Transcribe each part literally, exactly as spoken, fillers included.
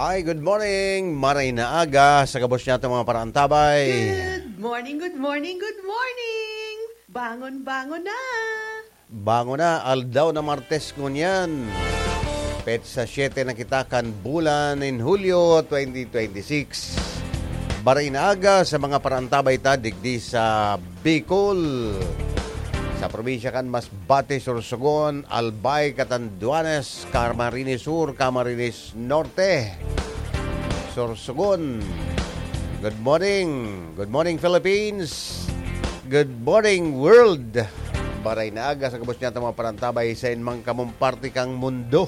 Ay, good morning. Maray na aga sa gabos niya itong mga paraantabay. Good morning, good morning, good morning. Bangon, bangon na. Bangon na, aldaw na Martes ngunyan. Petsa siete na kita kan bulan nin Hulyo twenty twenty-six. Maray na aga sa mga paraantabay ta digdi sa Bicol. Sa probinsya kan Masbate, Sorsogon, Albay, Catanduanes, Camarines Sur, Camarines Norte, Sorsogon. Good morning. Good morning, Philippines. Good morning, world. Maray na aga sa gabos niya mga paraantabay sa inmang kamong parte kang mundo.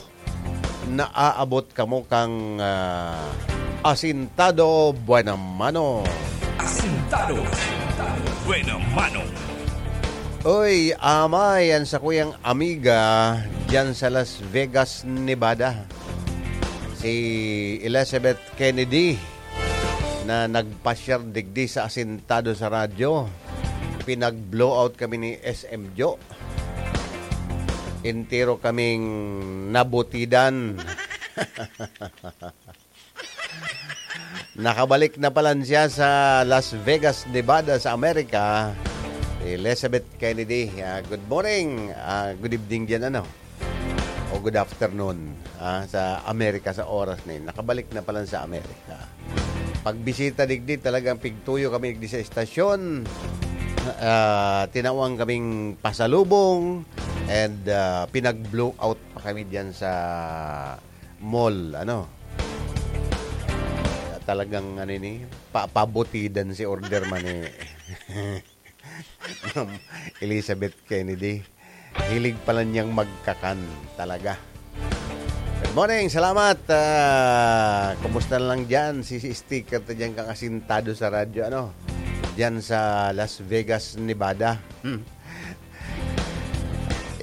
Naaabot kamo kang, ah, Asintado Buena Mano. Asintado Buena Mano. Oy, amay, ang sakuyang amiga diyan sa Las Vegas, Nevada, si Elizabeth Kennedy, na nagpasyar digdi sa Asintado sa Radyo. Pinag-blowout kami ni S M Jo. Entero kaming nabutidan. Nakabalik na pala siya sa Las Vegas, Nevada, sa Amerika. Elizabeth Kennedy, ah, good morning, ah, good evening diyan, ano, o good afternoon, ah, sa Amerika, sa oras na yun. Nakabalik na pala sa Amerika. Pagbisita digdi, talagang pigtuyo kami digdi sa estasyon. Ah, tinawang kaming pasalubong and, ah, pinag-blowout pa kami diyan sa mall, ano. Talagang, ano ini, pa-, pabutidan si order man ni Ma'am Elizabeth Kennedy. Hilig pala niyang magkakan talaga. Good morning, salamat. Ah, kumusta na lang diyan? Si, si sticker ta diyan kang Asintado sa Radyo, ano? Diyan sa Las Vegas, Nevada. Hmm.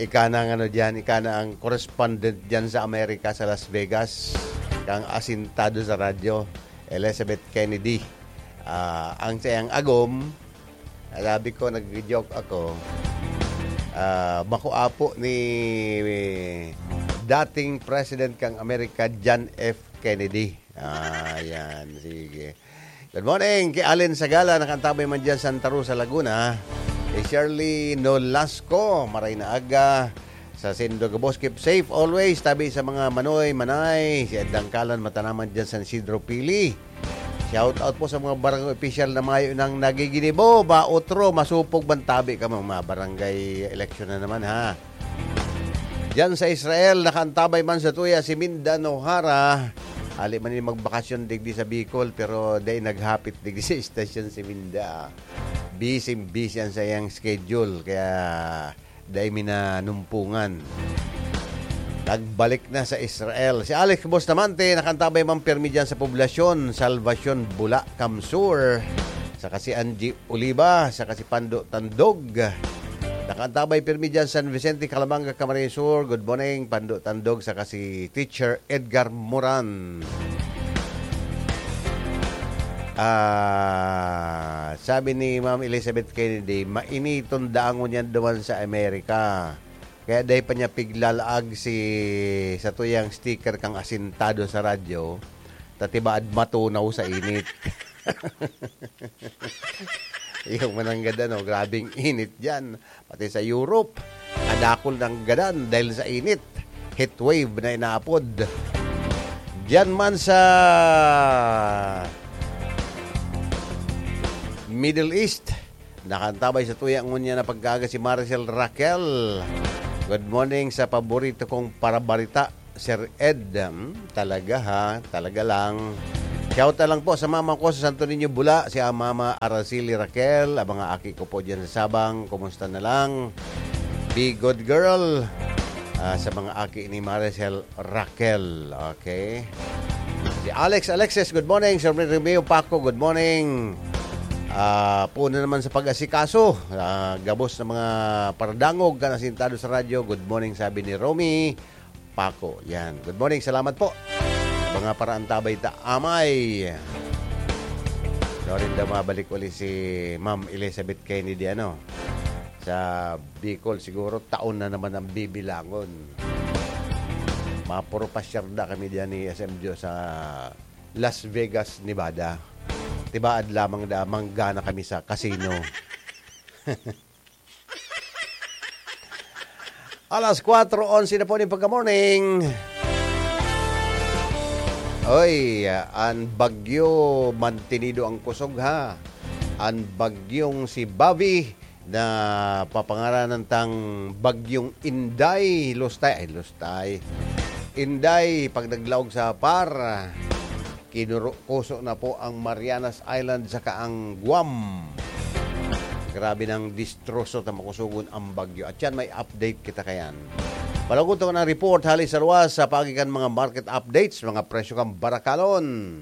Ika na ang ano diyan, ika na ang correspondent diyan sa Amerika, sa Las Vegas, kang Asintado sa Radyo, Elizabeth Kennedy. Ah, ang sayang agom, sabi ko, nag-joke ako, ah, bako apo ni dating president kang Amerika, John F. Kennedy. Ah, yan. Sige. Good morning kay Allen Sagala, nakantabay man dyan Santa Rosa, Laguna. Kay Shirley Nolasco, maray na aga. Sa Sendo Gabos, keep safe always. Tabi sa mga manoy, manay. Si Ed Dangkalan, matanaman dyan San Isidro, Pili. Shout out po sa mga barangay official na mayo nang nagiginibo. Ba, otro, masupog man tabi ka mga barangay election na naman, ha. Diyan sa Israel, nakaantabay man sa tuya si Minda Nohara. Ali man yung magbakasyon digdi sa Bicol, pero dai naghapit digdi sa istasyon si Minda. Busy, busy ang sa iyang schedule, kaya dai mi nanumpungan. Nagbalik na sa Israel. Si Alex Bustamante, nakaantabay man pirmi dyan sa poblasyon, Salvacion, Bula, Kamsur. Saka si Angie Oliva, saka si Pando Tandog. Nakaantabay pirmi dyan, San Vicente, Calamanga, Camarines Sur. Good morning, Pando Tandog, saka si Teacher Edgar Moran. Ah, sabi ni Ma'am Elizabeth Kennedy, mainiton daangon yan duman sa Amerika. Kaya dai pa niya piglalaag si, sa tuyang sticker kang asintado sa radyo, ta tibaad matunaw sa init. Yung mananggad, ano, grabing init dyan. Pati sa Europe, kadakol ng gadan dahil sa init. Heat wave na inaapod. Diyan man sa Middle East, nakantabay sa tuya ngunyan na pagkaaga si Maricel Raquel. Good morning sa paborito kong parabarita, Sir Ed. Hmm, talaga ha, talaga lang. Shout out lang po sa mama ko sa Santo Niño, Bula, si, ah, Mama Araceli Raquel, ang mga aki ko po dyan sa Sabang, kumusta na lang? Be good girl. Ah, sa mga aki ni Maricel Raquel, okay? Si Alex Alexis, good morning. Sir Romeo Paco, good morning. Ah, puno naman sa pag-asikaso. Ah, gabos na mga paradangog kan asintado sa radyo. Good morning, sabi ni Romy Paco. Yan. Good morning, salamat po. Mga paraantabay ta amay. Sorry daw, mabalik uli si Ma'am Elizabeth Kennedy, ano, sa Bicol. Siguro taon na naman ang bibilangon. Mapuro pasyar da kami diyan ni S M Joe sa Las Vegas, Nevada. Tibaad lamang da, manggana kami sa casino. Alas kwatro onse na po ning pagka-morning. Oy, an bagyo, mantinido ang kusog, ha. An bagyong si Bobby, na papangaranan tang Bagyong Inday, Lustay, ay, Lustay. Inday, pag naglaog sa par, kinurukuso na po ang Marianas Island saka ang Guam. Grabe ng distroso ta makusugon ang bagyo. At yan, may update kita kayan. Palagot ako ng report, hali sa luwas, sa paagi kan mga market updates, mga presyo kan barakalon.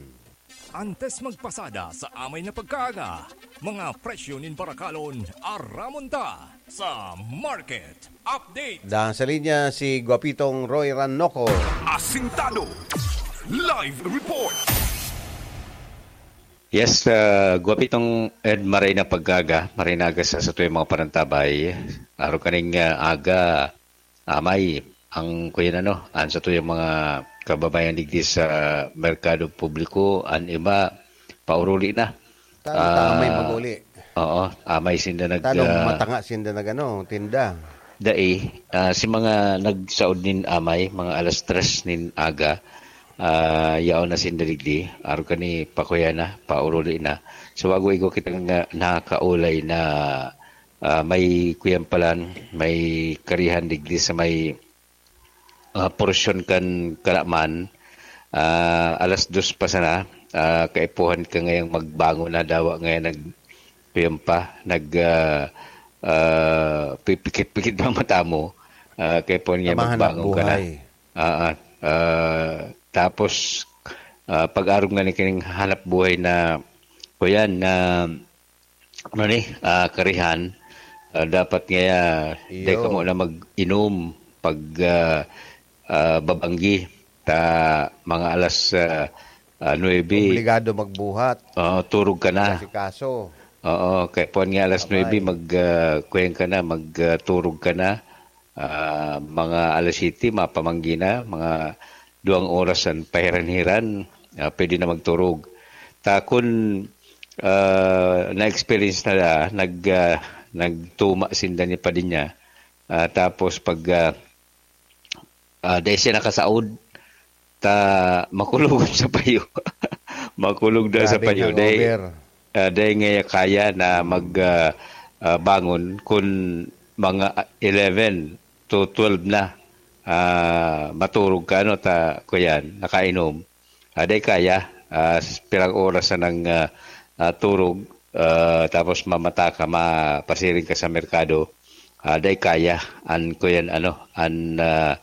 Antes magpasada sa amay na pagkaaga, mga presyo nin barakalon, aramon ta sa market update. Dahil sa linya si Guapitong Roy Rannoco. Asintado. Live report. Yes, uh, Guapitong Ed, maray na pagkaga, maray na aga sa satuyang mga panantabay. Araw kaning uh, aga, amay, ang kuyan ano, ang satuyang mga kababayan digdi sa merkado publiko, ang iba, pauruli na. Tano Ah, amay maguli. Oo, amay sinda nag Tano ah, matanga sinda nag ano, tinda. Dai, ah, si mga nagsaod nin amay, mga alas tres nin aga, ah, yaon na sinda digdi, aro kani pakuya na, pauruli na. So, wago igo kita nga nakaulay na ah, may kuyan palan, may karihan digdi sa may ah, porsyon kan Kalaman, ah, alas dos pa sana, ah, kaipuhan ka ngayang magbangon na dawa ngayon nag, kuyan pa, nag, ah, ah, pipikit-pikit ang mata mo, ah, kaipuhan nga Kamahanap magbangon ka na. buhay. Ah, ah, ah, tapos, ah, pag-arog nga ni kining hanap buhay na, kuyan, na ano ni, ah, karihan, ah, dapat nga, ah, dai Iyo. kamo na mag-inom pag, ah, ah, babanggi. Ta mga alas, ah, ah, nuebe, Obligado magbuhat. Oo, turog ka na. Kasi kaso. Oo, kaya po nga alas nuebe, Abay. mag, ah, kuyan ka na, mag, ah, turog ka na. Ah, mga alas siyete, mapamanggi na, mga duwang oras an pahiran-hiran, ah, pwede na magturog. Ta kun, ah, na-experience na, nag, ah, nagtuma sinda ni Padinha, ah, tapos pag, ah, ah, dai siya nakasaod, ta makulog sa payo. Makulog na sa Grabeng payo. Dai, hangover. ah, dai nga kaya na mag, ah, ah, bangon kun mga eleven to twelve na, ah, maturog ka, ano, ta, kuyan, nakainom. Ah, dai kaya, ah, s-, pirang oras na nang, ah, ah, turog, ah, tapos mamata ka, mapasiring ka sa merkado, ah, dai kaya, an, kuyan, ano, an, ah,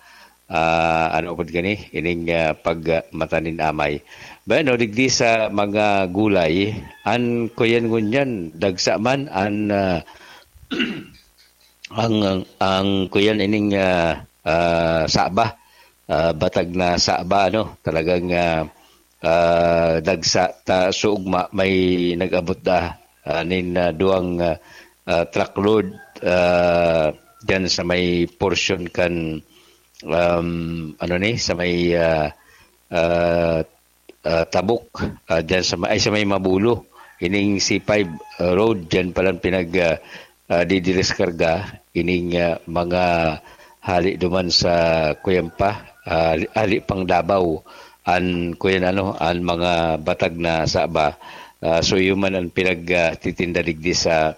ah, ano pod gani, ining, ah, pag, ah, mata nin amay. Bueno, digdi sa mga gulay, an, kuyan ngunyan, dagsa man, an, ah, ang, ang, ang kuyan ining, ah, ah, saba, ah, batag na saba, ano, talagang, ah, ah, dagsa ta sa ugma, may nag-abot da, ah, nin, ah, duwang, ah, ah, truckload, ah, diyan sa may portion kan, um, ano ni, sa may, ah, ah, ah, Tabok, ah, diyan sa may, ay, sa may Mabulo. Ining C five, ah, road, diyan palang pinag, ah, ah, didireskarga ining, ah, mga hali duman sa Cuyampa, ah, hali pang Davao, an kuyan ano, an mga batag na saba. Ah, so, iyo man an pinag, ah, titinda digdi sa,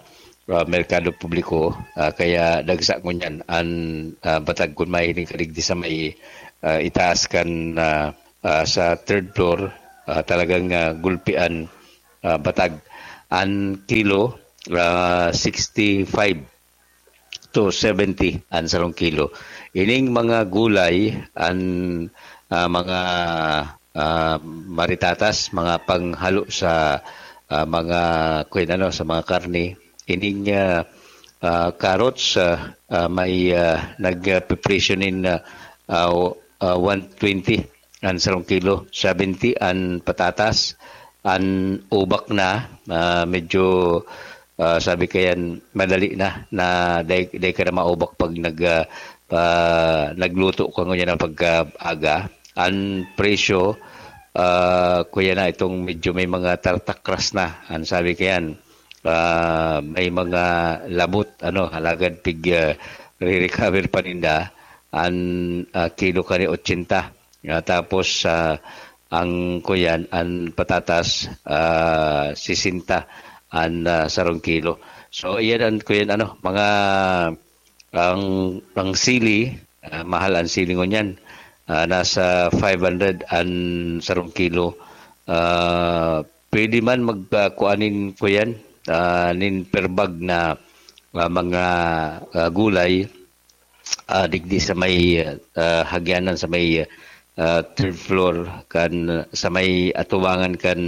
ah, merkado publiko, ah, kaya dagsa ngunyan an, ah, batag kun mahiling ka digdi sa may, ah, itaas kan, ah, ah, sa third floor, ah, talagang, ah, gulpian, ah, batag. An kilo, ah, sixty-five to seventy an sarong kilo. Ining mga gulay, an, ah, mga, ah, maritatas, mga panghalo sa, ah, mga, kuwan ano, sa mga karne. Ining, ah, ah, carrots, ah, ah, may, ah, nagpipresyo nin, ah, ah, ah, one twenty an sarong kilo, seventy an patatas, an ubak na, ah, medyo, ah, sabi kayan, madali na, na dai, dai ka na maubak pag nag, ah, ah, nagluto ko ngunyan na pagkaaga. An presyo, ah, kuya na itong medyo may mga tartakras na. An sabi ko yan, ah, may mga labot, ano, alagad pig, ah, re-recover pa ninda. An, ah, kilo kani ochenta. Ah, tapos, ah, ang kuyan, an patatas, ah, sesenta an, ah, sarong kilo. So, iyan an kuyan, ano, mga, ang, ang sili, ah, mahal ang sili ngunyan. Ah, nasa five hundred an sarong kilo. Ah, pwede man mag, ah, kuan nin kuyan, ah, nin per bag na, ah, mga, ah, gulay, ah, digdi sa may, ah, hagyanan sa may, ah, third floor kan sa may atubangan kan,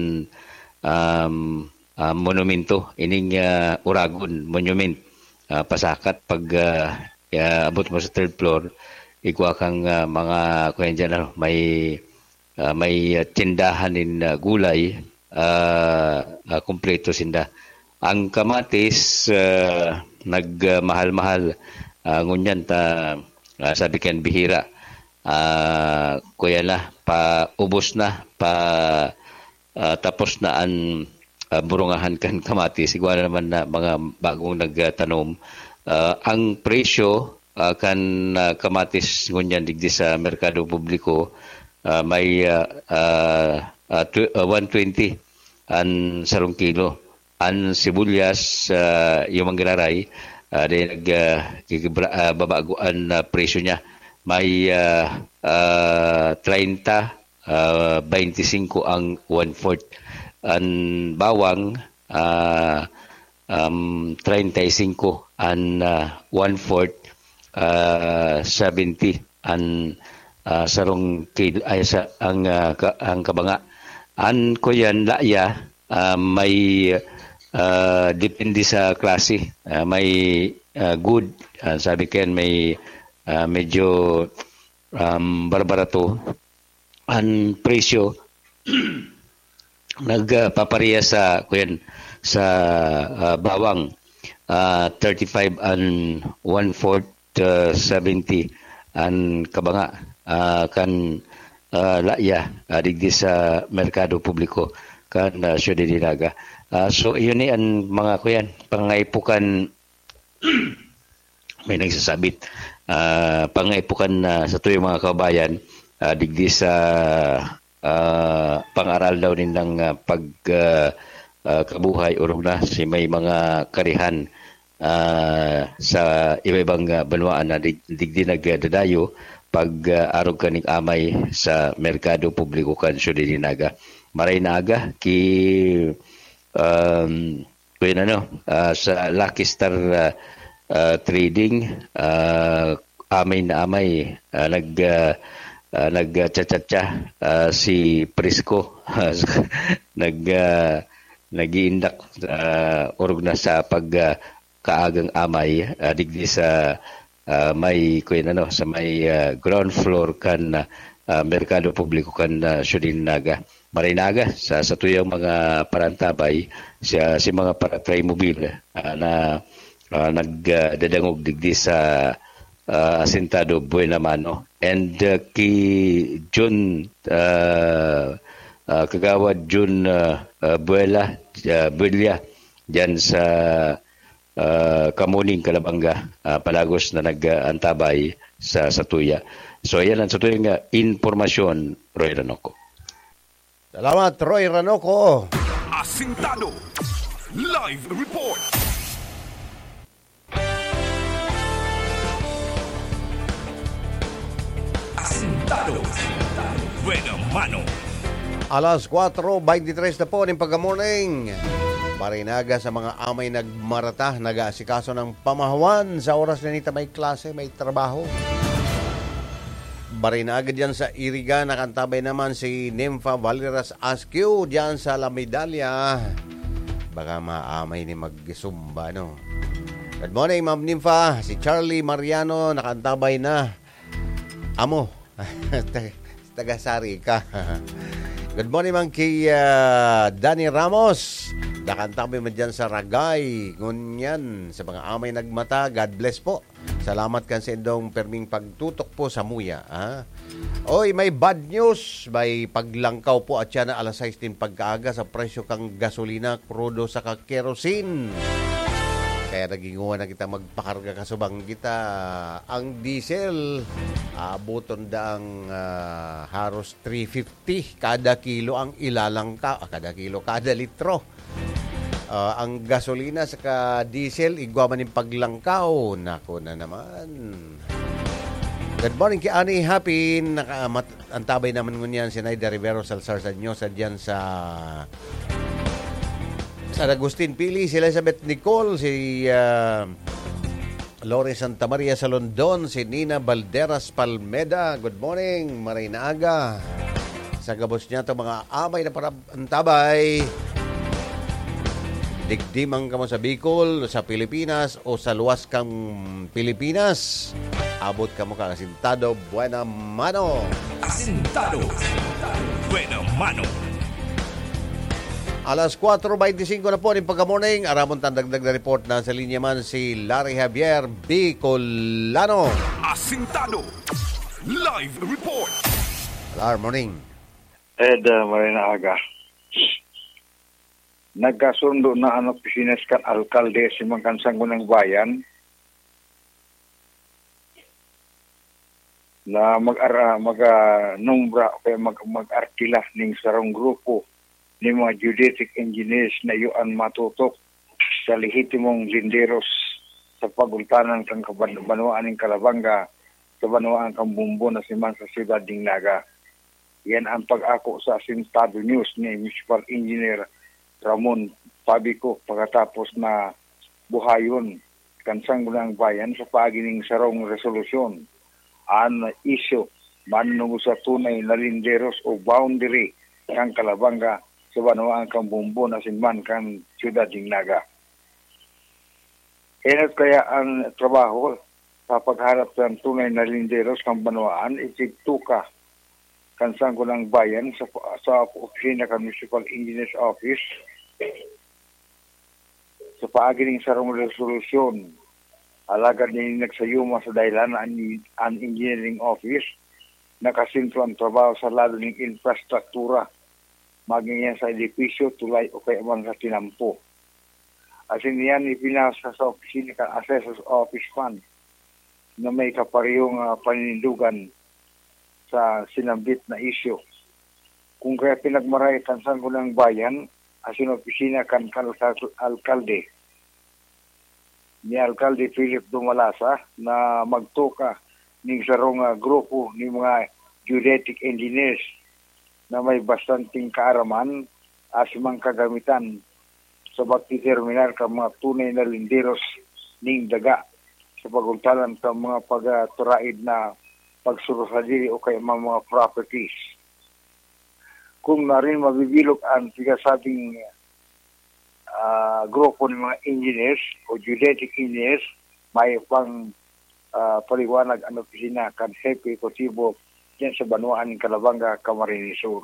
um, ah, monumento ining, ah, Uragon Monument. Ah, pasakat pag, ah, ah, abot mo sa third floor, igwa kang, ah, mga kuyan diyan, ano, may, ah, may, ah, tindahan nin, ah, gulay, ah, ah, kumpleto sinda. Ang kamatis, ah, nagmahal-mahal, ah, ngunyan ta, ah, sabi kan bihira, ah, kuya na, paubos na, pa, ah, tapos na an, ah, burungahan kan kamatis. Igwa na naman na mga bagong nagtanom. Ah, ang presyo, ah, kan, ah, kamatis ngunyan digdi sa merkado publiko, ah, may, ah, ah, ah, tw-, ah, one twenty an sarong kilo. An sibuyas, ah, yung manggiraray, ah, di nag, ah, gigibra-, ah, babago an, ah, presyo niya. May, ah, ah, treinta, ah, veinticinco ang one-fourth. An bawang, ah, um, treinta y cinco an, ah, one-fourth, ah, seventy an, ah, sarong kil-, ay, sa, ang, ah, ka-, ang kabanga. An kuyan, laya, ah, may, ah, depende sa klase. Ah, may, ah, good, ah, sabi ko yan, may, ah, medyo, um, barbarato. An presyo, nagpapareha sa, kuyan, sa, ah, bawang, ah, thirty-five and one-fourth, ah, seventy an kabanga, ah, kan, ah, laya, ah, digdi sa merkado publiko kan, ah, Ciudad de Naga. Ah, so, iyon ni an mga, kuyan, pangaipukan, may nagsasabit. Ah, pangaipukan na sa tuyong mga kababayan, ah, digdi sa, ah, pangaral daw nindang, ah, pag, ah, ah, kabuhay, orog na si may mga karihan, ah, sa iba-ibang, ah, banwaan na dig-, digdi nagdadayo pag, ah, arog kaning amay sa merkado publiko kan Ciudad de Naga. Maray na aga, ki, um, Kuya ano, ah, sa Lucky Star, ah, ah, Trading, ah, amay na amay, ah, nag, ah, ah, nagchatchatcha, ah, si Prisco. Nag, ah, nag-iindak, ah, orog na sa pag, ah, kaagang amay, ah, digdi sa, ah, may, kuya ano, sa may, ah, ground floor kan, ah, merkado publiko kan, ah, Ciudad de Naga. Maray na aga sa satuyang mga parantabay, sa, si mga para-Trimobile, ah, na, ah, nagdadangog digdi sa, ah, Asentado Buena Mano. And, ah, ki Jun, ah, ah, Kagawad Jun, ah, ah, Buela, ah, Buella, diyan sa, ah, Kamuning, Calabanga, ah, palagos na nag-aantabay sa satuya. So, ayan ang satuyang, ah, impormasyon, Roy Ranoco. Salamat, Roy Ranoco. Asintado. Live report. Asintado. Buena mano. Alas kwatro beintitres na po nin pagka-morning. Maray na aga sa mga amay nagmarata, nag-aasikaso ng pamahawan sa oras na nita may klase, may trabaho. Maray na aga diyan sa Iriga, nakantabay naman si Nympha Valeras Askew diyan sa La Medalla. Baka maamay ni magsumba, no? Good morning, Ma'am Nympha. Si Charlie Mariano, nakantabay na. Amo. Taga Sari ka. Good morning, Mang, kay, ah, Danny Ramos. Nakantabay mo dyan sa Ragay. Ngunyan, sa mga amay nagmata, God bless po. Salamat kan sa indong perming pagtutok po sa muya, ha? Oy, may bad news. May paglangkaw po at siya na alas sais din pagkaaga sa presyo kang gasolina, krudo saka kerosene. Kaya naginguha na kita magpakarga kasubang kita. Ang diesel, aaboton daang, ah, haros three fifty kada kilo ang ilalangka, ah, kada kilo, kada litro. Ah, ang gasolina saka diesel, igwa man yung paglangkaw. Nako na naman. Good morning ki Ani Happy. Naka-, mat-, antabay naman ngunyan si Naida Rivero Salsar sa inyo, sa diyan sa San Agustin, Pili, si Elizabeth Nicole, si, ah, Lori Santa Maria sa London, si Nina Balderas Palmeda. Good morning, maray na aga. Sa gabos niya, itong mga amay na parab-, antabay. Digdi man kamo sa Bicol, sa Pilipinas, o sa luwas kang Pilipinas. Abot kamo kan Asintado Buena Mano. Asintado Buena Mano. Alas kwatro beintisinko na po ning pagka-morning. Aramon tang dagdag na report. Nasa linya man si Larry Javier, Bicolano. Asintado Live Report. Lar, morning. Ed, uh, maray na aga. Nagkasundo na an opisina kan alkalde asin mga kan Sangguniang Bayan na mag-ara-, mag, ah, nombra o kaya mag-, mag-arkila ning sarong grupo nin mga geodetic engineers na iyo an matutok sa lehitimong linderos sa pagultanan kan kaban-, banwaan nin Calabanga sa banwaan kan Bombon asin man sa siyudad nin Naga. Yan ang pag-ako sa Asintado News ni Municipal Engineer Ramon Pabico pakatapos na buhayon kan Sangguniang Bayan sa paagi nin sarong resolusyon. An isyu man nung sa tunay na linderos o boundary kan Calabanga sa banwaan kan Bombon asin man kan siyudad nin Naga. Enot kaya an trabaho sa paghanap kan tunay na linderos kan banwaan, itigtuka kan Sangguniang Bayan sa, sa opisina kan Municipal Engineer's Office sa paagi nin sarong resolusyon. Alagad nin nagsayuma sa dahelan an, an engineering office, nakasentro an trabaho sa lado nin infrastruktura, maging yan sa edipisyo, tulay o kaya man sa tinampo. Asin iyan ipinasa sa opisina kan Assessor's Office Fund na may kaparehong, ah, paninindogan sa sinambit na isyu. Kung kaya pinagmaray kan Sangguniang Bayan asin opisina kan kal-, kal-, alkalde, ni Alkalde Philip Dumalasa na magtuka ning sarong, ah, grupo ni mga geodetic engineers na may bastanteng kaaraman asin mga kagamitan sa pagdeterminar kan mga tunay na linderos ning daga sa pagultanan kan mga pagturaed na pagsurusadiri o kaya mga, mga properties. Kung narin mabibilog ang pigasabing, ah, grupo ng mga engineers o geodetic engineers, may pang, ah, paliwanag ang opisina kan Hepe Ejekutibo diyan sa banwaan ng Calabanga, Camarines Sur.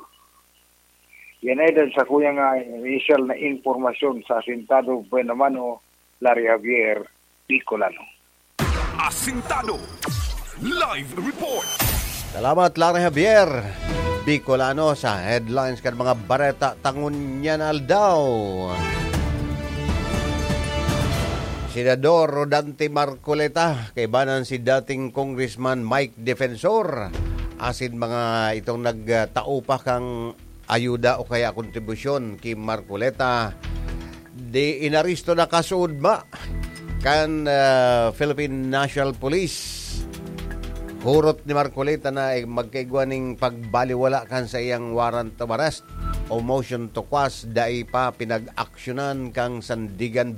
Yan ay dahil sa kuyang, ah, initial na impormasyon sa Asintado Buenamano, Larry Javier, Bicolano. Asintado Live Report. Salamat, Larry Javier, Bicolano, sa headlines kan mga bareta ta ngunyan aldaw. Senador Rodante Marcoleta, kaibanan si dating Congressman Mike Defensor, asin mga itong nagtao pa kang ayuda o kaya kontribusyon ki Marcoleta. Di inaresto na kasuodma kan, ah, Philippine National Police. Hurot ni Marcoleta na, eh, magkaigwa ning pagbaliwala kan sa iyang warrant of arrest o motion to quash, dai pa pinag-aksyonan kang Sandigan